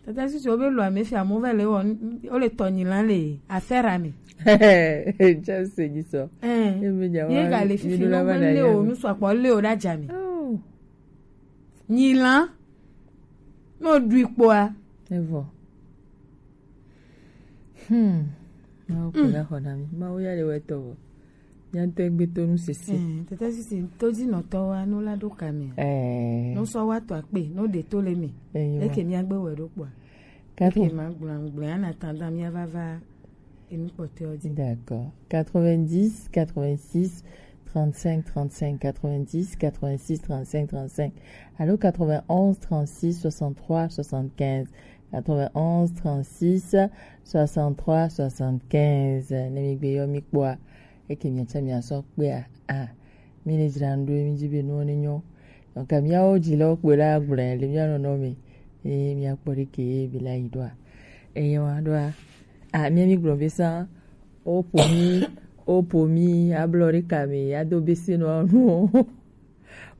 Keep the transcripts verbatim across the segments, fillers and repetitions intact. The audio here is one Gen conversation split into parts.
Tata sisi wo be lo ame fia mo va le wo wo le tɔ nyi lan le affaire ame. Just se nyi sɔ. Eh. E be nya wa. Ye ga le fifi no be le o nu sɔ kpɔ le o da ja mi. Oh. Nyi lan. No du ikpoa. Evo. Hmm. Mawu ko la xɔ na mi. Mawu ya le wɛ tɔ vɔ. Nya tɔ gbe to nu sese. Eh, tata sisi to di nɔ tɔ wa no la do ka mi. Eh. No sɔ wa tɔ akpe, no de to le mi. Eh, eke mi agbe wɛ do kpɔ. Quatre. Eke ma gblɔ gblɔ ana tanda mi ava va. Emi kpɔtɔewo dzi. D'accord. Quatre-vingt-dix, quatre-vingt-six, trente-cinq, trente-cinq, quatre-vingt-dix, quatre-vingt-six, trente-cinq, trente-cinq. Alo quatre-vingt-onze, trente-six, soixante-trois, soixante-quinze. Quatre-vingt-onze, trente-six, soixante-trois, soixante-quinze. Ne mi gbe yɔ mi kpɔa, eke mi tsa mi asɔ kpea. Ah. Mi le dzra nu ɖo, mi dzi be nuwo ne nyɔ. Donc, miawo dzilawo kpoe la gblɔe le mia nɔnɔ me. Eye miakpɔ ɖeke ye mi la yi ɖoa. Eye wa ɖoa. Ah, mia mi gblɔ be sa, o po mi, o po mi, ablɔ ɖe ka me, ado bese nɔ nuwo.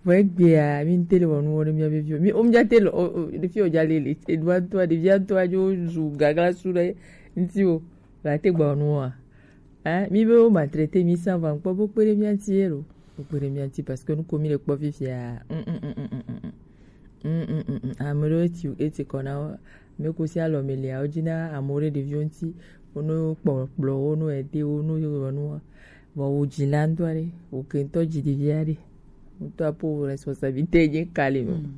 Vɔ egbea, mi ŋte le wɔ nuwo ɖe mia be viwo. Mi, o mi dza te le, o, o, ɖevi o dza le le, eɖua ŋtɔa, ɖevia ŋtɔa dzo zu gagla su ɖe ŋti o. La te gba wɔ nuwoa. Hein, mi be wo maltraiter mi sans va kpɔ bo kpe ɖe mia ŋti ye lo. Bo kpe ɖe mia ŋti parce que nu ko mi le kpɔ fifia. Mm, mm, mm, mm, mm, mm. Mm, mm, mm, mm. Ame ɖewo eti, eti kɔ na wo. Ame ko si alɔ me lia, wo dzi na amewo ɖe ɖeviwo ŋti. Wo no kpɔ kplɔ, wo no ede, wo no yɔ nua. Vɔ wo dzi la ŋutɔ ɖe, wo ke ŋutɔ dzi ɖevia ɖe. Ŋutɔ apo responsabilité dze ka le me. Mm.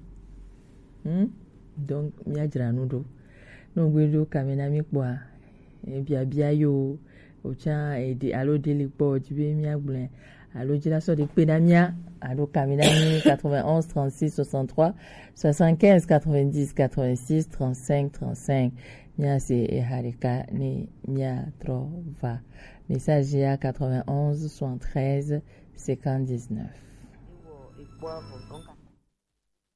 Hmm? Donc, mia dzra nu ɖo. Ne wogbe ɖo kame na mi kpɔa, eh, biabia yo, wotsa, eh, ɖe, alo ɖe le kpɔ, wodzi be mia gblɔe, alo dzi la sɔ ɖe kpe na mia, alo kame na mi quatre-vingt-onze trente-six soixante-trois soixante-quinze quatre-vingt-dix quatre-vingt-six trente-cinq trente-cinq. Mia se eha ɖeka ne mia trɔ va. Message ya quatre-vingt-onze soixante-treize cinquante-dix-neuf.